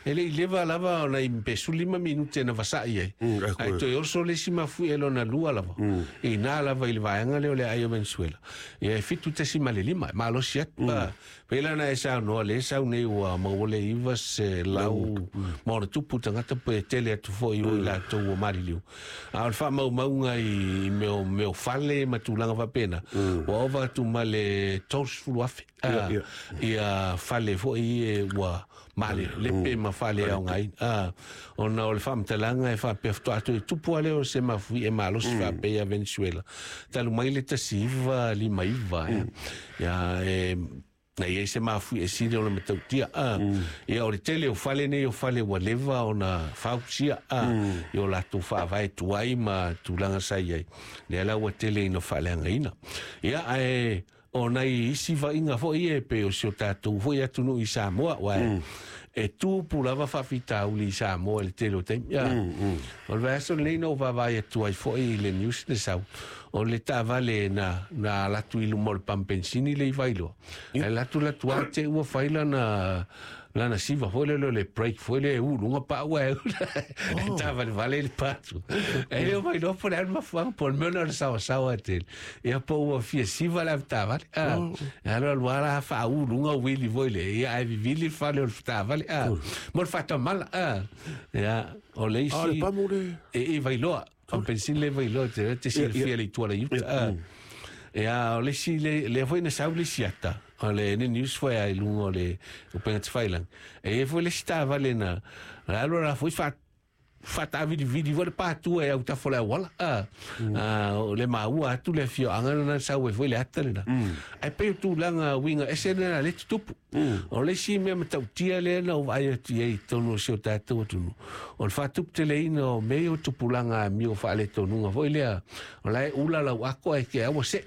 E le i leva lava ona i pe 15 minute na vasa'i ai. Ae toe oso le isi mafuie lona lua lava. I ina lava i le vaega lea o le aai o Venezuela. Ia e 7.5, e malosi atu. Pei la ona e saunoa lea e sau nei ua maua le 900 ma ona tupu tagata pe tele atu foi o i latou ua maliliu. A o le faamaumauga i mea o fale ma tulaga faapena, ua ova atu ma le 30,000 ia fale foi e ua male lepe ma fale aogaina. Ona o le faamatalaga e faapea faatoa toe tupu lea o se mafuie malosi faapea ia Venezuela talu mai le 1959 ia e na i ai se mafuie sili o le matautia. Ia o le tele o fale nei o fale ua leva ona fausia i o latou faavae tuai ma tulaga sa i ai lea la ua tele ina faaleagaina. Ia ae o nai isi vaaiga foi e pei o si o tatou foi atunuu i Samoa, uae e tupu lava faafitauli i Samoa i le tele o taimi. O le vaiaso lenei na ou vaavaai atu ai foi i le news le sau o le taavale na alu atu i luma o le pamu penisini le i Vailoa. E alu atu latu a te ua fai lana siva foi lele o le brake foi le uluga pau e e taavalevale le patu. E le o mailoa po o le a le mafuaaga po o le mea ona o le saoasaoa tele. Ia po ua fia siva le avetaavale. E alu alu lava la faauluga uili foi le ia ae vivili le fale o le taavale. Mo le faatamala. Ia o le isi. A le pamu le E i Vailoa. Pamu penisini le Vailoa te silafia le itu ala i uta. Ia o le isi lea foi na sau le isi ata. O le news foi ai luga o le upega tafailagi. E i ai foi le isi taavale na alu la foi faatavilivili foi le patua e autafa o le auala. O le maua atu le afioaga na sau ai foi le ata lena. Ae pei o tulaga uiga ese lena le tutupu. O le isi mea matautia lea na ou vaai atu i ai i totonu o si o tatou atunuu, o le faatuputeleina o mea ia o tupulaga amio faaletonuga foi lea, o la e ula lau ako ae te ua se'e.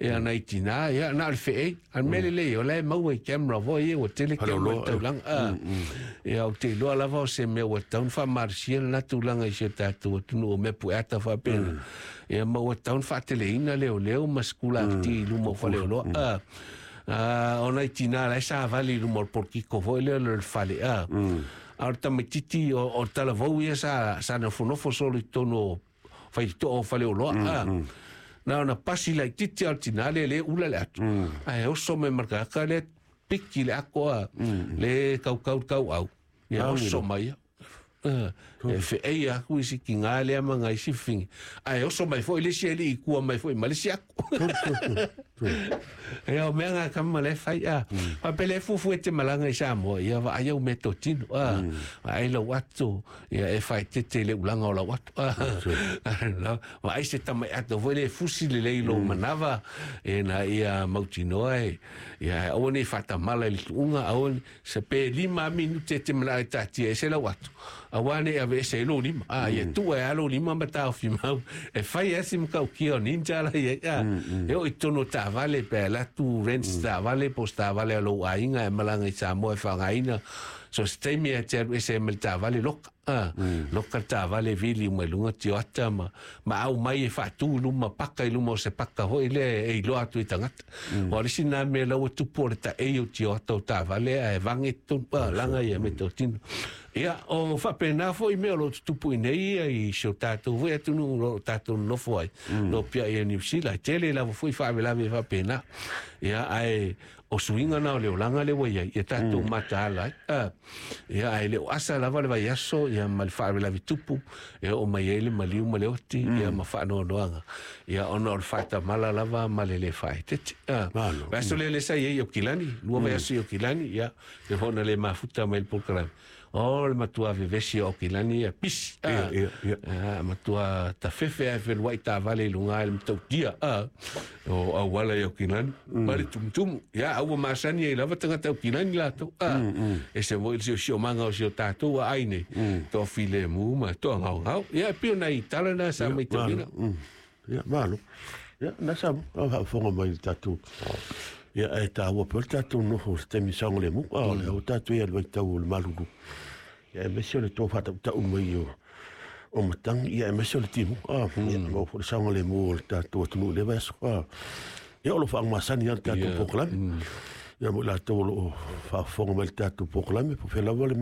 Ia nai tinā, ia na o le fe'ei. A o le mea lelei, o la e maua i camera foi ia, ua tele camera i le taulaga. Ia ou te iloa lava o se mea ua tatau ona faamalosia lena tulaga i si o tatou atunuu o mea pueata faapena. Ia ma ua tatau ona faateleina leoleo ma sikulati i luma o faleoloa. O nai tinā la e savali i luma o le polokiko foi lea o le fale. A o le tamaititi o le talavou ia sa nofonofo solo i totonu o faitoo o faleoloa. Na ona pasi laitiiti a o le tinā lea le ula le atu. Ae oso mai ma le tagata lea piki le ako a le kaukau le kauau. Ia oso mai ia. E fe'ei aku isi kiga lea ma ngai isi fafine. Ae oso mai foi le isi alii i tua mai foi ma le isi ako. Ia o mea ngā kama le fai a. Faapea le fuafua e te malaga i Samoa, ia vaai au meatotino. Vaai lau ato, ia e faaeteete i le ulaga o lau ato. Vaai se tamai ato foi le fusi lelei lou manava, e na ia mautinoa e, ia aua ne i faatamala i le tuuga, aua se pe 5 minute e te manao e taatia ese lau ato, auā ne i aveese ai lou lima. Ia tuu ai lava lou lima ma taofi mau, e fai lava si matautia o ninja la i ai. E oo i totonu o taavale, pe alu atu rent taavale po o se taavale a lou aiga e malaga i Samoa e faaaogaina. So se taimi e te alu ese ai ma le taavale loka. Loka le taavale vili uma i luga tioata ma au mai e faatu i luma paka i luma o se paka foi lea e iloa atu i tagata. O le isi na mea la ua tupu o le taei o tioata o taavale ae vage totonu laga ia meatotino. Ia o faapena foi mea o lo o tutupu i nei ia i si o tatou foi atunuu o lo o tatou nonofo ai. Lo pia ia Niu Sila, e tele lava foi faalavelave faapena. Ia ae o suiga na o le olaga lea ua i ai, ia tatou mataala ai. Ia ae le o asa lava le vaiaso ia ma le faalavelave tupu e oo mai ai le maliu ma le oti ia ma faanoanoaga. Ia ona o le faatamala lava ma le le faaeteete. Vaiaso lea le sa i ai i Aukilani, 2 vaiaso i Aukilani, ia le foi na le mafuta mai le polokalame. O le matua vevesi o Aukilani ia pisi. Matua tafefe ae feluai taavale i luga ai le matautia. O auala i Aukilani. Ma le tumutumu. Ia au ua masani ai lava tagata Aukilani latou. E se foi le siosiomaga o si o tatou aai nei. Toafilemu ma toagaogao. Ia e pei o nai tala na sa maitauina. Ia, malo. Ia, na sa faafofoga mai le tatou. Ia, e taua pea le tatou nofo i le taimi saogalemu. A o le tatou ia le vaitau o le malulu. Ia, aemaise o le toe faatautau mai o matagi, ia, aemaise o le timuga. Ia, maua foi le saogalemu o le tatou atunuu i lea vaiaso. Ia, o lo o faagasani lava le tatou polokalame. Ia, mo i latou o lo o faafofoga mai i le tatou polokalame, po o fea lava le mea.